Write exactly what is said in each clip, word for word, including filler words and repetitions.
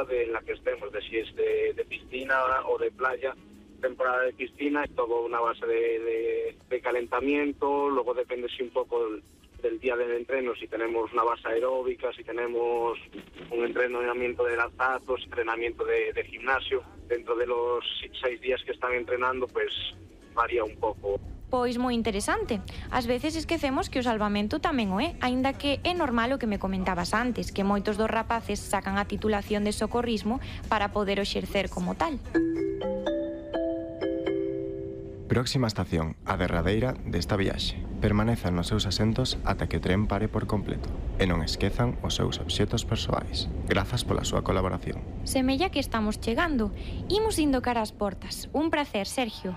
temporada de, en la que estemos, de si es de, de piscina o de playa. Temporada de piscina, es todo una base de, de, de calentamiento, luego depende si un poco del, del día del entreno, si tenemos una base aeróbica, si tenemos un entrenamiento de lanzados, entrenamiento de, de gimnasio. Dentro de los seis días que están entrenando, pues varía un pouco. Pois moi interesante. Ás veces esquecemos que o salvamento tamén o é, aínda que é normal o que me comentabas antes, que moitos dos rapaces sacan a titulación de socorrismo para poder o exercer como tal. Próxima estación, a derradeira desta viaxe. Permanezan nos seus asentos ata que o tren pare por completo e non esquezan os seus obxetos persoais. Grazas pola súa colaboración. Semella que estamos chegando. Imos indo cara ás portas. Un prazer, Sergio.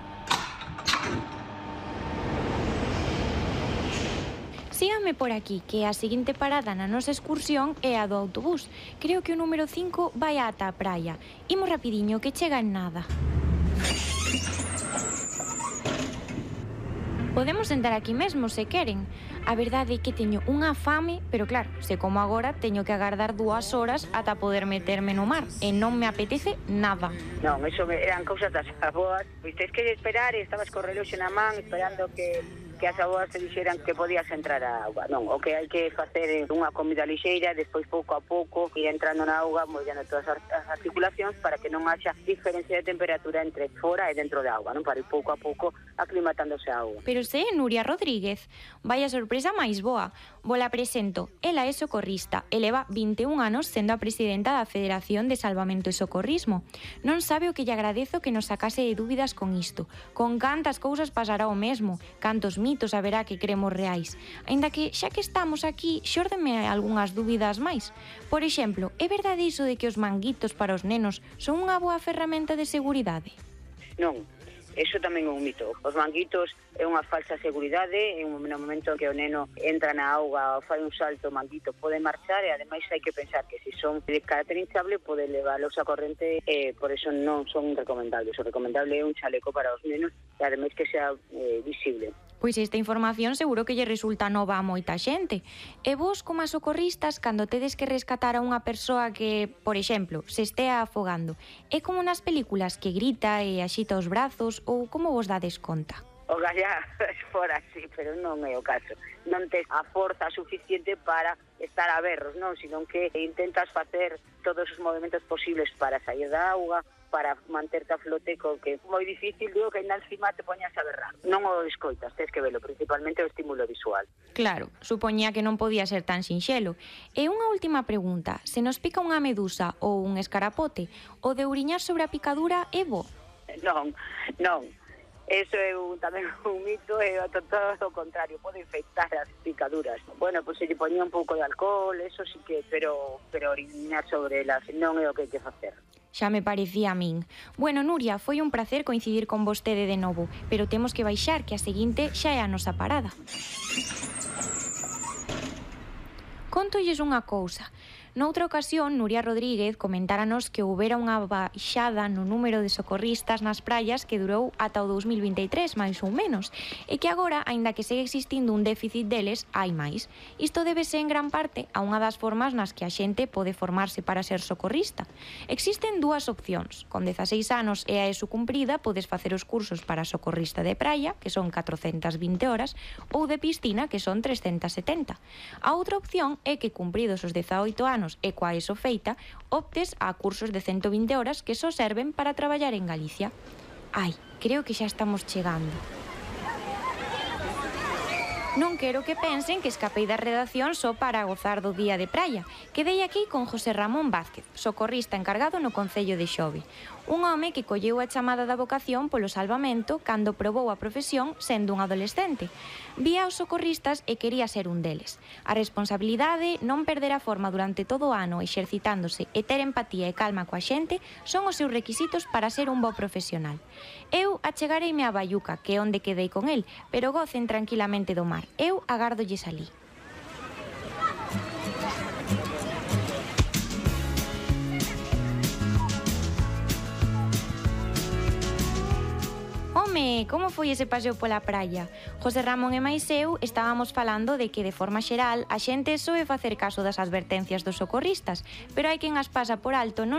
Síganme por aquí, que a seguinte parada na nosa excursión é a do autobús. Creo que o número cinco vai ata a praia. Imos rapidiño, que chega en nada. Podemos sentar aquí mesmo, se queren. A verdade é que teño unha fame, pero claro, se como agora, teño que agardar dúas horas ata poder meterme no mar, e non me apetece nada. Non, eso eran cousas das aboas. Pois tens que esperar, e estabas co reloxo na man, esperando que... que as aboas te dixeran que podías entrar á auga. Non, o que hai que facer é unha comida lixeira, despois pouco a pouco ir entrando na auga, mollando todas as articulacións para que non haxa diferencia de temperatura entre fora e dentro da auga, non? Para ir pouco a pouco aclimatándose a auga. Pero se é Nuria Rodríguez, vaya sorpresa máis boa. Vola presento, ela é socorrista e leva vinte e un anos sendo a presidenta da Federación de Salvamento e Socorrismo. Non sabe o que lle agradezo que nos sacase de dúbidas con isto. Con cantas cousas pasará o mesmo, cantos mitos haberá que cremos reais. Aínda que, xa que estamos aquí, xórdeme algunhas dúbidas máis. Por exemplo, é verdade iso de que os manguitos para os nenos son unha boa ferramenta de seguridade? Non. Eso tamén é un mito. Os manguitos é unha falsa seguridade, en un momento que o neno entra na auga ou fai un salto, o manguito pode marchar e ademais hai que pensar que se son de carácter hinchable pode leválos a corrente e por eso non son recomendables. O recomendable é un chaleco para os nenos e ademais que sea eh, visible. Pois esta información seguro que lle resulta nova a moita xente. E vos, como a socorristas, cando tedes que rescatar a unha persoa que, por exemplo, se estea afogando, é como nas películas que grita e axita os brazos ou como vos dades conta? O gallá fora así, pero non é o caso. Non tes a forza suficiente para estar a berros, non? Sino que intentas facer todos os movimentos posibles para sair da auga, para manterte a flote, co que é moi difícil, digo que ainda encima te poñas a berrar. Non o escoitas, tens que velo, principalmente o estímulo visual. Claro, supoñía que non podía ser tan sinxelo. E unha última pregunta, se nos pica unha medusa ou un escarapote, o de uriñar sobre a picadura é bo? Non, non. Eso é un, tamén un mito e todo o contrario, pode infectar as picaduras. Bueno, pois se lle poñía un pouco de alcohol, eso sí que, pero pero orinar sobre elas non é o que hai que facer. Xa me parecía a min. Bueno, Nuria, foi un placer coincidir con vostede de novo, pero temos que baixar, que a seguinte xa é a nosa parada. Contolles unha cousa. Noutra ocasión, Nuria Rodríguez comentáranos que houbera unha baixada no número de socorristas nas praias que durou ata o dous mil vinte e tres, máis ou menos, e que agora, aínda que segue existindo un déficit deles, hai máis. Isto débese en gran parte a unha das formas nas que a xente pode formarse para ser socorrista. Existen dúas opcións. Con dezaseis anos e a ESO cumprida, podes facer os cursos para socorrista de praia, que son catrocentas vinte horas, ou de piscina, que son trescentas setenta. A outra opción é que, cumpridos os dezaoito anos e coa ESO feita, optes a cursos de ciento vinte horas que só serven para traballar en Galicia. Ai, creo que xa estamos chegando. Non quero que pensen que escapei da redacción só para gozar do día de praia. Quedei aquí con José Ramón Vázquez, socorrista encargado no Concello de Xove. Un home que colleu a chamada da vocación polo salvamento cando probou a profesión sendo un adolescente. Vía os socorristas e quería ser un deles. A responsabilidade, non perder a forma durante todo o ano exercitándose e ter empatía e calma coa xente son os seus requisitos para ser un bo profesional. Eu achegareime a Baiuca, que é onde quedei con el, pero gocen tranquilamente do mar. Eu agardolles alí. Home, como foi ese paseo pola praia? José Ramón e máis eu estábamos falando de que, de forma xeral, a xente soe facer caso das advertencias dos socorristas, pero hai quen as pasa por alto non